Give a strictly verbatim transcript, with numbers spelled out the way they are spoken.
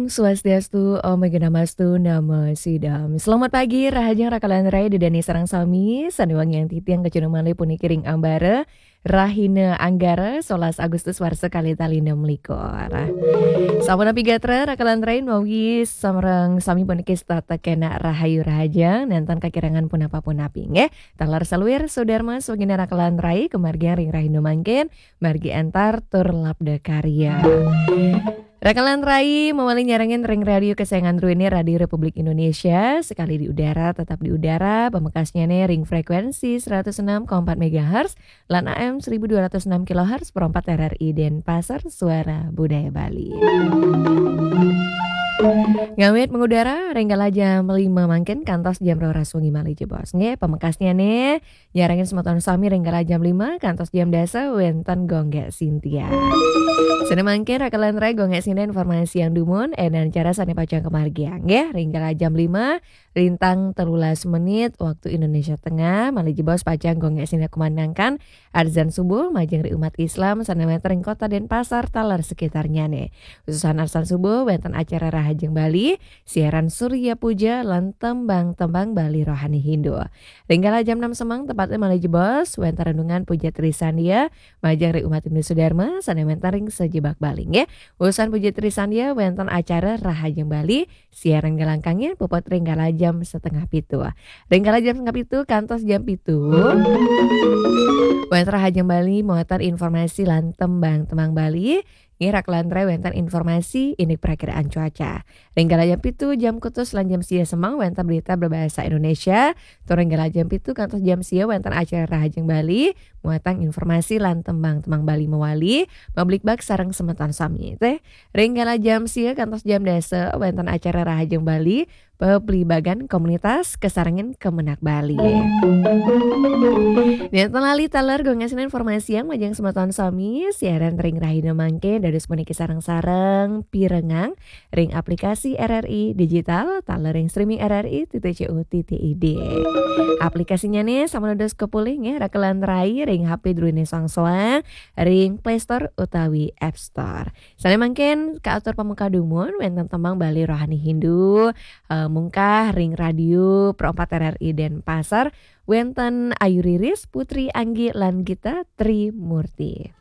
Swastiastu, Om Awighnamastu, Namo Siddham. Selamat pagi, rahajeng rakalan rai, dedane sareng sami, sané wangiang titiang kacunduk malih puniki ring ambara, rahina Anggara, solas Agustus warsa kalih tali enem likur. Sampun api gatra, rakalan rai, mawi sareng sami puniki setata kenak rahayu rahajeng, nénten kakirangan punapa-punapi, nggih. Taler saluir, sadarma, swagina rakalan rai, kamargiang ring rahina mangkin, margi antar tur labda karya. Rakalan rai mawali nyarengin ring radio kesayangan druéné, Radio Republik Indonesia, sekali di udara, tetap di udara, pamekasnyané ring frekuensi seratus enam koma empat megahertz lan A M seribu dua ratus enam kilohertz, perempat R R I Denpasar, Suara Budaya Bali. Ngawit mengudara, ring kala jam lima mangkin kantos jam roras wengi malih jebos. Nggih, pamekasnyané, nyarengin semeton sami ring kala jam lima kantos jam dasa wénten Gung Gék Sintia. Sané mangkin rakalan rai Gung Gék Sintia informasiang dumun, éndan acara sané pacang kamargiang, nggih, ring kala jam lima, lintang telulas menit, waktu Indonesia Tengah, malih jebos pacang Gung Gék Sintia kumandangkan adzan subuh, majeng ring umat Islam, sané wénten ring Kota Denpasar, taler sekitarnyané. Utusan adzan subuh, wénten acara Rahajeng Bali, siaran Surya Puja lan tembang-tembang Bali rohani Hindu. Ring kala jam enam semeng tepatnya malih jebos, wénten renungan Puja Trisandia, majeng ring umat Hindu Sudarma, sané wénten ring sajebag Bali, nggih. Usan Puja Trisandia, wénten acara Rahajeng Bali, siaran galangkangnya puput ring kala jam setengah pitu. Ring kala jam setengah pitu, kantos jam pitu. Wénten Rahajeng Bali, muatan informasi lan tembang-tembang Bali, nggih, rakalan rai wénten informasi indik perakiraan cuaca. Ring kala jam pitu, jam kutus lan jam sia semeng wénten berita berbahasa Indonesia. Tur ring kala jam pitu kantos jam sia wénten acara Rahajeng Bali, muatan informasi lan tembang-tembang Bali mawali, mabligbagan sareng semeton sami, nggih. Ring kala jam sia kantos jam dasa wénten acara Rahajeng Bali, pabligbagan komunitas kasarengin Kemenag Bali. Nénten lali taler Gung Gék Sintia informasiang majeng semeton sami, siaran ring rahina mangkin dados puniki sareng-sareng pirengang ring aplikasi R R I Digital, taler ring streaming R R I titik C O titik I D. Aplikasinyané sampun dados kapulih, nggih, rakalan rai ring H P druéné soang-soang, ring Play Store utawi App Store. Sané mangkin kaatur pameka dumun, wénten tembang Bali rohani Hindu, eh, mungkah ring Radio Pro empat R R I Denpasar, wénten Ayu Riris, Putri Anggi lan Gita Trimurti.